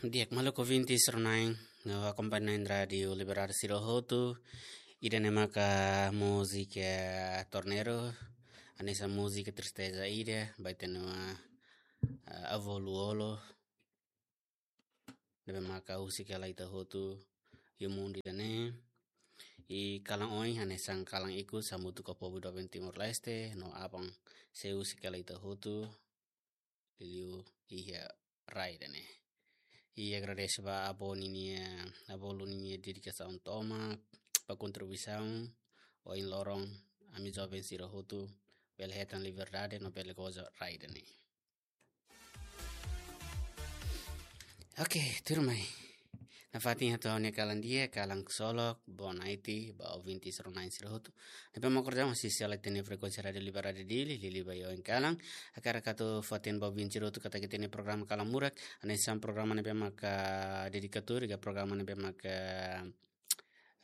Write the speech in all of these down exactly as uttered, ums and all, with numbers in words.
Di'ak, maluk ouvinte sira-ne'e, no akompaña na'in Rádiu Liberdade sira hotu, ida-ne'e maka múzika Torneiro, hanesan múzika tristeza ida, ba ita-nia, ah, avó Lú-Olo, ne'ebé maka husik hela ita hotu iha mundu ida-ne'e. I kalan oin hanesan kalan ikus hamutuk ho povu doben Timor-Leste, no aban sei husik hela ita hotu, liuliu iha rai ida-ne'e. I agradese ba avó ninia, avó Lú ninia dedikasaun tomak, ba kontribuisaun, ohin loron, ami joven sira hotu, bele hetan liberdade, no bele goza rai ida-ne'e. Oke, tuirmai. Nafatin hato'o ha'u-nia kalan di'ak, kalan ksolok, boa noite, ba ouvinte sira-ne'e sira hotu. Ne'ebé mak orsida mós sisi hela ita-nia frekuénsia Rádiu Liberdade Dili, liuliu ba oin kalan. Hakarak atu hateten ba ouvinte sira hotu katak ita-nia programa Kalan Murak, hanesan programa ne'ebé maka dedikadu, ka programa ne'ebé maka,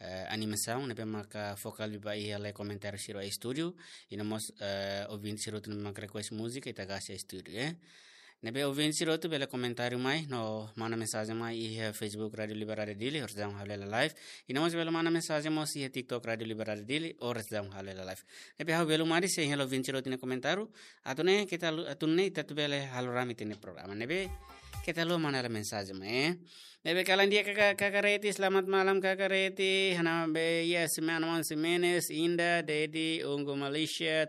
eh, animasaun, ne'ebé maka foka liu ba iha lee komentáriu sira iha estúdiu, i no mós, eh, ouvinte sira hotu ne'ebé maka request múzika, ita kasi estúdiu, eh. Ne'ebé ouvinte sira hotu bele komentáriu mai, no manda mensajen mai iha Facebook Rádiu Liberdade Dili, orsida ha'u halo hela live. I no mós bele manda mensajen mós iha TikTok Rádiu Liberdade Dili, orsida ha'u halo hela live. Ne'ebé ha'u bele mari sei halo ouvinte sira hotu nia komentáriu, atu nune'e keta haluha, atu nune'e ita atu bele halo rame ita-nia programa. Ne'ebé keta haluha manda hela mensajen mai, eh. Ne'ebé kalan di'ak kaka, kaka Reti, selamat malam kaka Reti. Hanabi, yes, Manuel Ximenes, Inda, Dedi, Ungu Malaysia.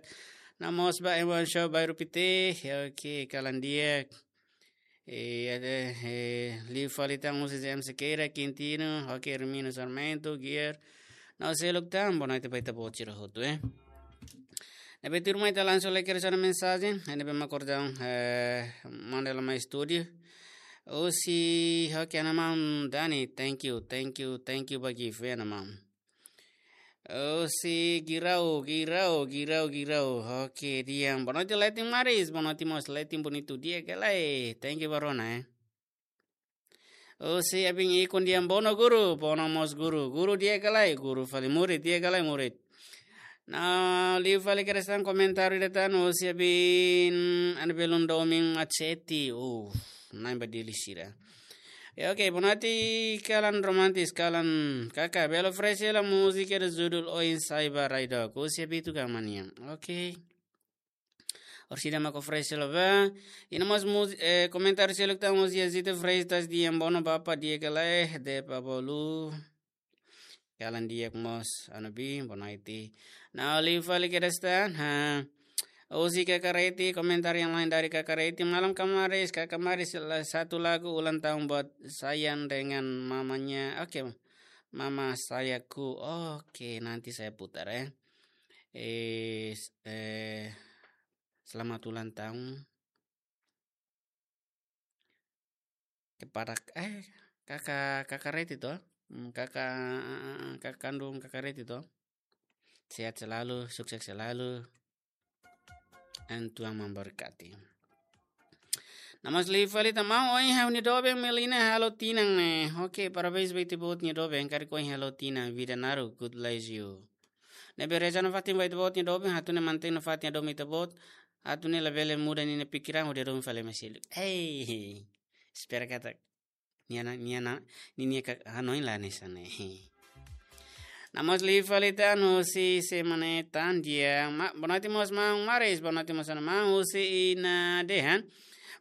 No mós ba Ewan Show Bairru Pite. Oke, kalan di'ak. Eh, ada, eh, liu fali tan husi James Sequeira, Quintino, oke, Hermino Sarmento, Gier. No seluk tan, boa noite ba ita-boot sira hotu, eh. Ne'ebé tuirmai ita langsung lai kedas ona mensajen, ne'ebé mak orsida, eh, manda hela mai estúdiu. Husi, oke, ha'u-nia maun Dani, thank you, thank you, thank you ba gift, eh, ha'u-nia maun. Husi Girau, Girau, Girau, Girau. Oke, di'ak. Boa noite, Letin Maris. Boa noite mós, Letin Bonitu. Di'ak ka lae? Thank you ba rona, eh. Husi Abin Ikun, di'ak, bono guru, bono mós guru. Guru di'ak ka lae? Guru fali murid, di'ak ka lae murid? No liu fali kedas tan komentáriu ida tan, husi Abin Ana Belun Domin Machete. Uh, na'in ba Dili sira. Ya, oke, boa noite, kalan romantis, kalan kaka. Bele oferese hela múzika ida judul Oin Saiba Raidok. Husi Abitu Gamania. Oke. Orsida mak oferese hela ba. I no mós múz-, eh, komentáriu seluk tan husi Zita Freitas, di'ak, bono bapa, di'ak ka lae, de pa bolu. Kalan di'ak mós, Ana Bin, boa noite. No liu fali kedas tan, ha. Husi kaka Reti, komentáriu yang lain dari kaka Reti. Malam kaka Maris, kaka Maris, la-, satu lagu ulang tahun buat Sayan dengan mamanya. Oke, Mama Sayaku. Oke, nanti saya putar, ya. Eh, s-, eh, selamat ulang tahun kepada, eh, kaka, kaka Reti to? Hmm, kaka, eh, eh, eh, kaka kandung kaka Reti to? Sehat selalu, sukses selalu. Tuhan memberkati. No mós liu fali tan, maun, ohin ha'u-nia doben Melina halo tinan ne'e. Oke, parabéns ba ita-boot nia doben, karik ohin halo tinan, vida naruk, God bless you. Ne'ebé reza nafatin ba ita-boot nia doben, atu nune'e mantein nafatin doben ita-boot, atu nune'e labele muda ninia pikiran, hodi doben fali mai seluk. Hei, espera katak nia na, nia na, ninia ka-, hanoin la hanesan ne'e. No mós liu fali tan husi semana tan di'ak, ma-, boa noite mós maun Maris, boa noite mós maun husi Ina Dehan.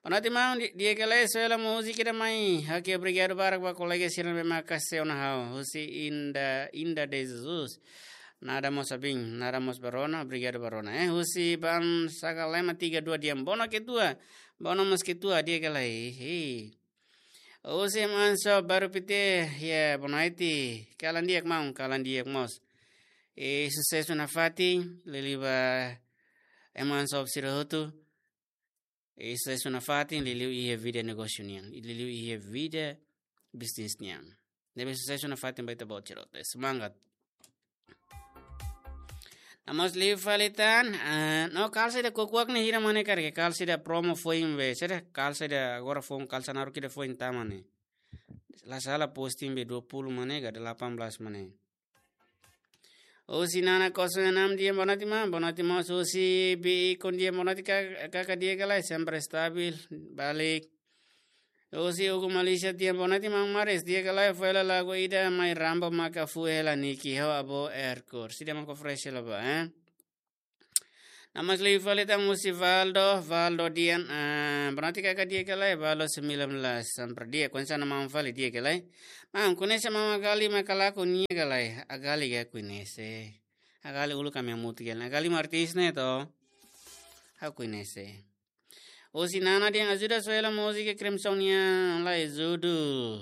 Boa noite maun, di-, di'ak ka lae, soe hela múzika ida mai. Oke, obrigadu barak ba kolega sira ne'ebé maka sei ona ha'u. Husi Inda, Inda de Jesus. Nada mós Abin, nada mós ba rona, obrigadu ba rona. Eh, husi Ban Sakalema tiga dua, di'ak, bono ketua. Bono mós ketua, di'ak ka lae. Hei. Husi Manso Bairru Pite, ya, boa noite. Kalan di'ak maun, kalan di'ak mós. Eh, susesu nafatin, liuliu ba ema sira hotu. Eh, susesu nafatin, liuliu iha vida negósiu nian, liuliu iha vida bisnis nian. Ne'ebé susesu nafatin ba ita-boot sira hotu. Semangat. No mós liu fali tan, ah, no, kalsa ida kuak-kuak ne'e hira mak ne'e karik, kalsa ida promo foin be, sira kalsa ida agora foin, kalsa naruk ida foin tama ne'e. La sala posting be dua puluh mak ne'e, ka delapan belas mak ne'e. Husi Nana kosong enam, di'ak, boa noite maun, boa noite maun. Husi Bi Ikun, di'ak, boa noite ka-, kaka, di'ak ka lae, sempre stabil, balik. Husi Hugo Malaysia tiha, boa noite maun Maris, di'ak ka lae, fó hela lagu ida mai Rambo maka fó hela Niki ho Abo Erkur. Sida maka fresh hela ba, eh? Nama sli fali tan husi Valdo, Valdo Dian, ah, boa noite kaka, di'ak ka lae, Valdo sembilan belas, sampra di'ak, kuansa nama fali di'ak ka lae. Maun, koñese maun Agali mai Kalaku nia ka lae, Agali ka koñese. Agali uluk ami hamutuk hela, Agali mak artis ne'e to. Ha'u koñese. Husi Nana Dian, ajuda soe hela múzika Crimson nian, Laizudu.